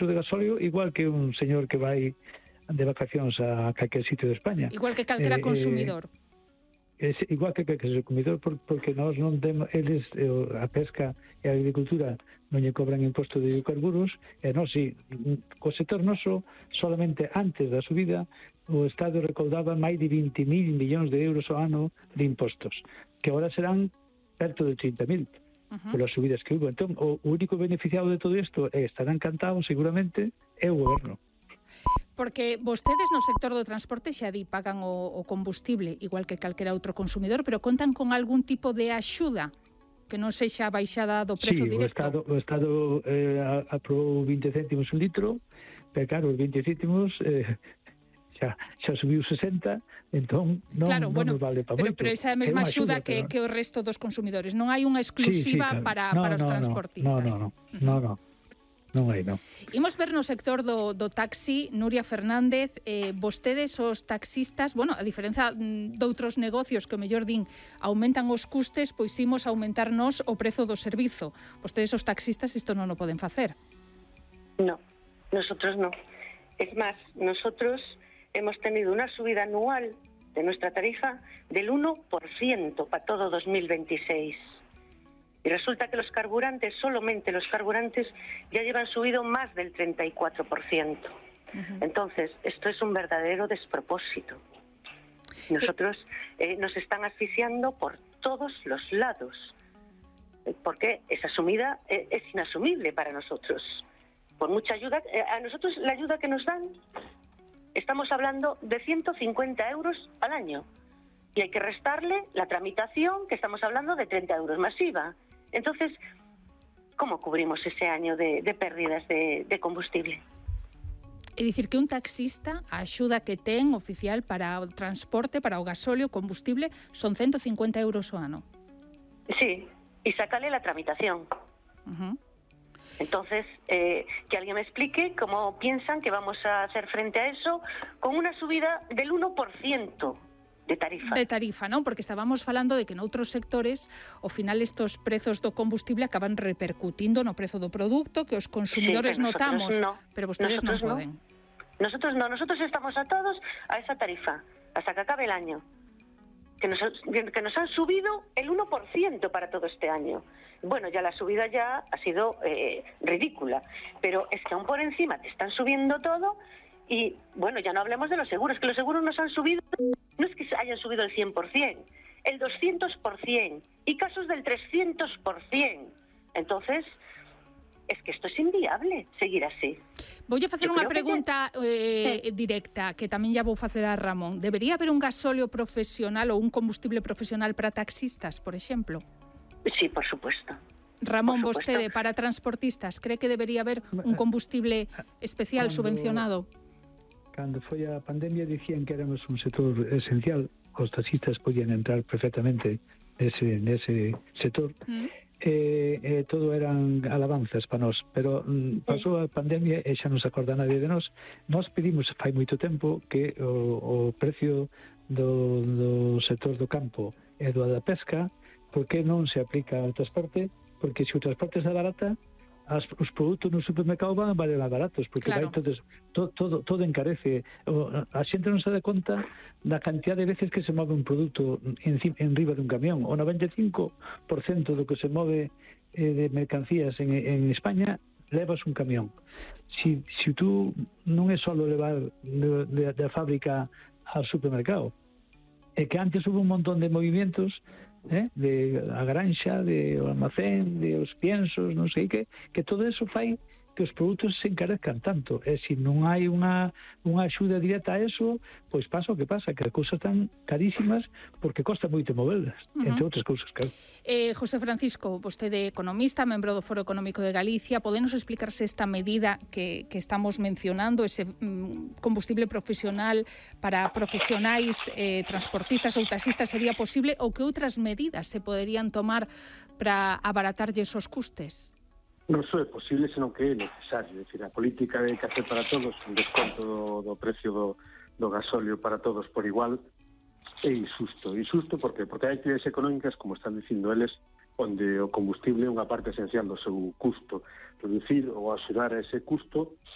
de gasóleo igual que un señor que vai de vacacións a calquer sitio de España. Igual que calquera consumidor. É igual que calquer consumidor, porque nós non temos, eles, a pesca e a agricultura non lle cobran imposto de hidrocarburos, e nós, si, co sector noso, solamente antes da subida, o Estado recaudaba máis de 20.000 millóns de euros ao ano de impostos, que agora serán perto de 30.000 polas subidas que hubo. Entón, o único beneficiado de todo isto estará encantado, seguramente, é o goberno. Porque vostedes no sector do transporte xa pagan o combustible, igual que calquera outro consumidor, pero contan con algún tipo de axuda que non sexa baixada do prezo directo? O Estado aprobou 20 céntimos un litro, pero claro, os 20 céntimos xa subiu 60, entón non nos vale para moito. Pero esa é a mesma axuda que o resto dos consumidores. Non hai unha exclusiva para os transportistas. Non hai, non. Imos ver no sector do taxi, Nuria Fernández, vostedes os taxistas, bueno, a diferenza doutros negocios que o mellor din aumentan os custes, pois imos aumentarnos o prezo do servizo. Vostedes os taxistas isto non o poden facer. No, nosotros no. Es más, nosotros hemos tenido una subida anual de nuestra tarifa del 1% para todo 2026. Y resulta que los carburantes, solamente los carburantes, ya llevan subido más del 34%. Entonces, esto es un verdadero despropósito. Nosotros nos están asfixiando por todos los lados, porque esa subida es inasumible para nosotros. Por mucha ayuda, a nosotros la ayuda que nos dan, estamos hablando de 150 euros al año. Y hay que restarle la tramitación, que estamos hablando de 30 euros masiva. Entonces, ¿cómo cubrimos ese año de pérdidas de combustible? É dicir que un taxista, a axuda que ten oficial para o transporte, para o gasóleo, combustible, son 150 euros ao ano. Sí, y sácale la tramitación. Entonces, que alguien me explique cómo piensan que vamos a hacer frente a eso con una subida del 1%. De tarifa, non? Porque estábamos falando de que noutros sectores, ao final estos prezos do combustible acaban repercutindo no prezo do produto, que os consumidores notamos, pero vostedes non poden. Nosotros no, nosotros estamos atados a esa tarifa, hasta que acabe el año. Que nos han subido el 1% para todo este año. Bueno, ya la subida ya ha sido ridícula, pero es que aún por encima te están subiendo todo. Y, bueno, ya no hablemos de los seguros, que los seguros nos han subido, no es que hayan subido el 100%, el 200%, y casos del 300%. Entonces, es que esto es inviable, seguir así. Vou facer unha pregunta directa, que tamén ya vou facer a Ramón. Debería haber un gasóleo profesional ou un combustible profesional para taxistas, por exemplo? Sí, por supuesto. Ramón, vostede, para transportistas, cree que debería haber un combustible especial subvencionado? Cando foi a pandemia dicían que éramos un sector esencial, os taxistas podían entrar perfectamente nese sector, todo eran alabanzas para nós, pero pasou a pandemia e xa non se acorda nadie de nós. Nós pedimos fai moito tempo que o precio do sector do campo e do da pesca, por que non se aplica ao transporte? Porque se o transporte se abarata, os produtos no supermercado van a valer máis baratos, porque vai todo encarece. A xente non se dá conta da cantidad de veces que se move un produto en riba dun camión. O 95% do que se move de mercancías en España levas un camión. Si tú non é só levar da fábrica ao supermercado, é que antes hubo un montón de movimientos de a granxa, de o almacén, de os piensos, non sei que todo eso fai que os produtos se encarezcan tanto. E se non hai unha axuda directa a eso, pois pasa o que pasa, que as cousas están carísimas porque costa moito moverlas, entre outras cousas, claro. José Francisco, vostede economista, membro do Foro Económico de Galicia, podenos explicarse esta medida que estamos mencionando, ese combustible profesional para profesionais transportistas ou taxistas, sería posible, ou que outras medidas se poderían tomar para abaratarlles os custes? Non só é posible, senón que é necesario. É dicir, a política de café para todos, un desconto do precio do gasóleo para todos por igual, é injusto. Injusto porque hai actividades económicas, como están dicindo eles, onde o combustible é unha parte esencial do seu custo. Reducir ou axudar a ese custo